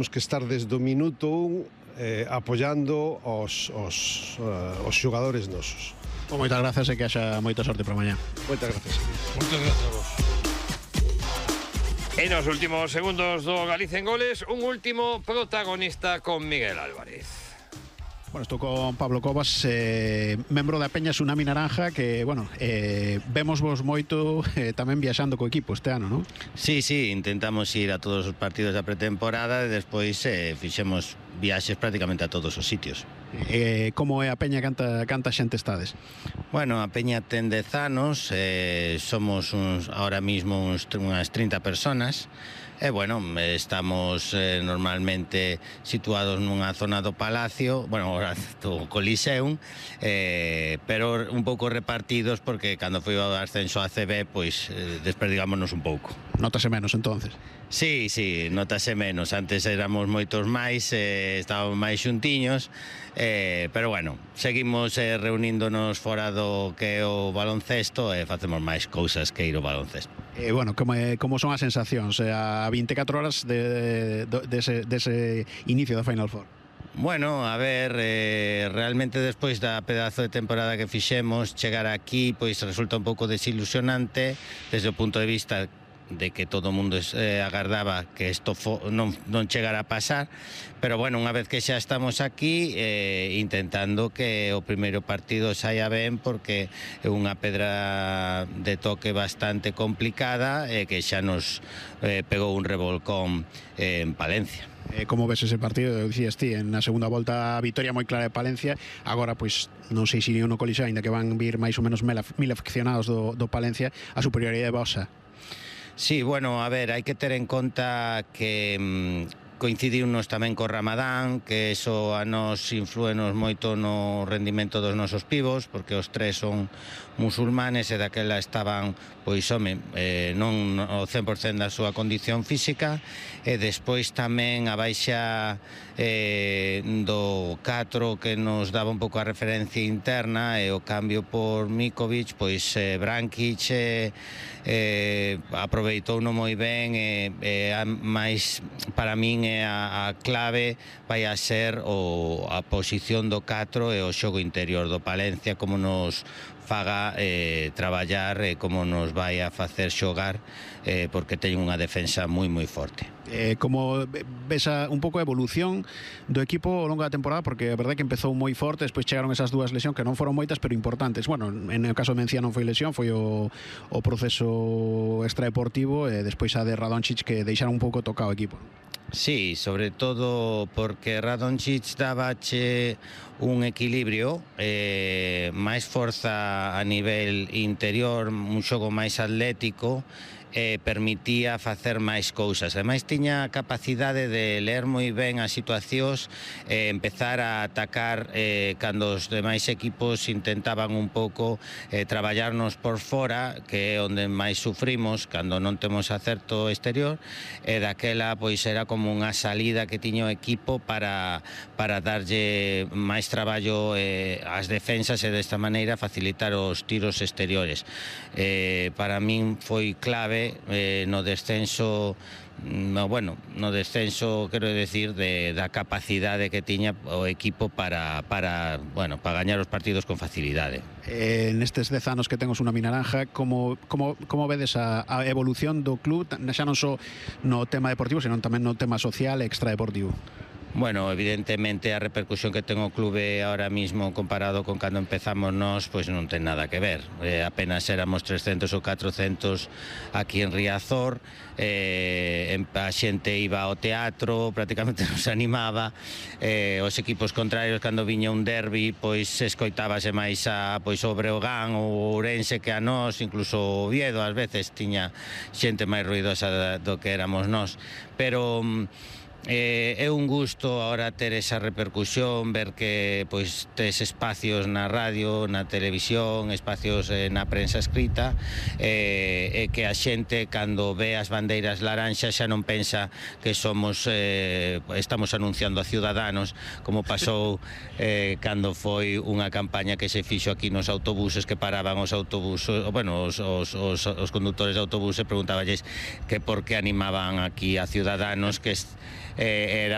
Temos que estar desde o minuto 1 apoiando os xogadores nosos. Moitas grazas e que haxa moita sorte para mañá. Moitas grazas. Moitas grazas a vos. En los últimos segundos do Galicia en Goles, un último protagonista con Miguel Álvarez. Bueno, estou con Pablo Cobas, membro da Peña Tsunami Naranja, que, bueno, vemos vos moito tamén viaxando co equipo este ano, non? Sí, intentamos ir a todos os partidos da pretemporada e despois fixemos viaxes prácticamente a todos os sitios. Como é a Peña, canta xente estades? Bueno, a Peña ten 10 anos, somos ahora mismo unhas 30 personas. Bueno, estamos normalmente situados nunha zona do Palacio, bueno, ahora do Coliseum, pero un pouco repartidos porque cando foi o ascenso a CB, pois desperdigámonos un pouco. Notase menos, entonces? Sí, notase menos. Antes éramos moitos máis, estábamos máis xuntiños, pero bueno, seguimos reuníndonos fora do que é o baloncesto e facemos máis cousas que ir ao baloncesto. Bueno, como son as sensacións a 24 horas dese inicio da Final Four? Bueno, a ver, realmente despois da pedazo de temporada que fixemos, chegar aquí pois resulta un pouco desilusionante desde o punto de vista de que todo o mundo agardaba que isto non chegara a pasar, pero bueno, unha vez que xa estamos aquí intentando que o primeiro partido saia ben, porque é unha pedra de toque bastante complicada e que xa nos pegou un revolcón en Palencia. Como ves ese partido? Dicías ti, na segunda volta a vitoria moi clara de Palencia, agora pois non sei se no Coliseo, ainda que van vir máis ou menos 1000 aficionados do Palencia, a superioridade vosa. Sí, bueno, a ver, hai que ter en conta que coincidiunos tamén co Ramadán, que eso a nos inflúenos moito no rendimento dos nosos pibos, porque os tres son musulmanes e daquela estaban, pois, non o 100% da súa condición física, e despois tamén a baixa do 4 que nos daba un pouco a referencia interna e o cambio por Mikovic, pois Brankic aproveitouno moi ben e máis para min a clave vai a ser a posición do 4 e o xogo interior do Palencia, como nos faga traballar e como nos vai a facer xogar, porque ten unha defensa moi forte. Como ves un pouco a evolución do equipo ao longo da temporada, porque a verdade que empezou moi forte, despois chegaron esas dúas lesións que non foron moitas, pero importantes. Bueno, en o caso de Mencía non foi lesión, foi o proceso extradeportivo e despois a de Radončić, que deixaron un pouco tocado o equipo. Sí, sobre todo porque Radončić dabache un equilibrio, máis forza a nivel interior, un xogo máis atlético, permitía facer máis cousas. Ademais, tiña a capacidade de ler moi ben as situacións e empezar a atacar cando os demais equipos intentaban un pouco traballarnos por fora, que é onde máis sufrimos cando non temos acerto exterior, e daquela pois era como unha salida que tiña o equipo para darlle máis traballo ás defensas e desta maneira facilitar os tiros exteriores. Para min foi clave no descenso, quero decir, da capacidade que tiña o equipo para gañar os partidos con facilidade. Nestes 10 anos que ten o Tsunami Naranja, como vedes a evolución do club, xa non só no tema deportivo, senón tamén no tema social e extradeportivo? Bueno, evidentemente a repercusión que ten o clube ahora mismo comparado con cando empezamos nós, pois non ten nada que ver. Apenas éramos 300 ou 400 aquí en Riazor, a xente iba ao teatro, prácticamente non se animaba, os equipos contrarios cando viña un derbi, pois escoitábase máis a o Breogán ou Ourense que a nós, incluso o Oviedo ás veces tiña xente máis ruidosa do que éramos nós, pero é un gusto ahora ter esa repercusión, ver que pois tes espacios na radio, na televisión, espacios na prensa escrita, e que a xente cando ve as bandeiras laranxas xa non pensa que estamos anunciando a Ciudadanos, como pasou cando foi unha campaña que se fixo aquí nos autobuses, que paraban os autobuses, os condutores de autobuses, preguntaballes que por que animaban aquí a Ciudadanos, que era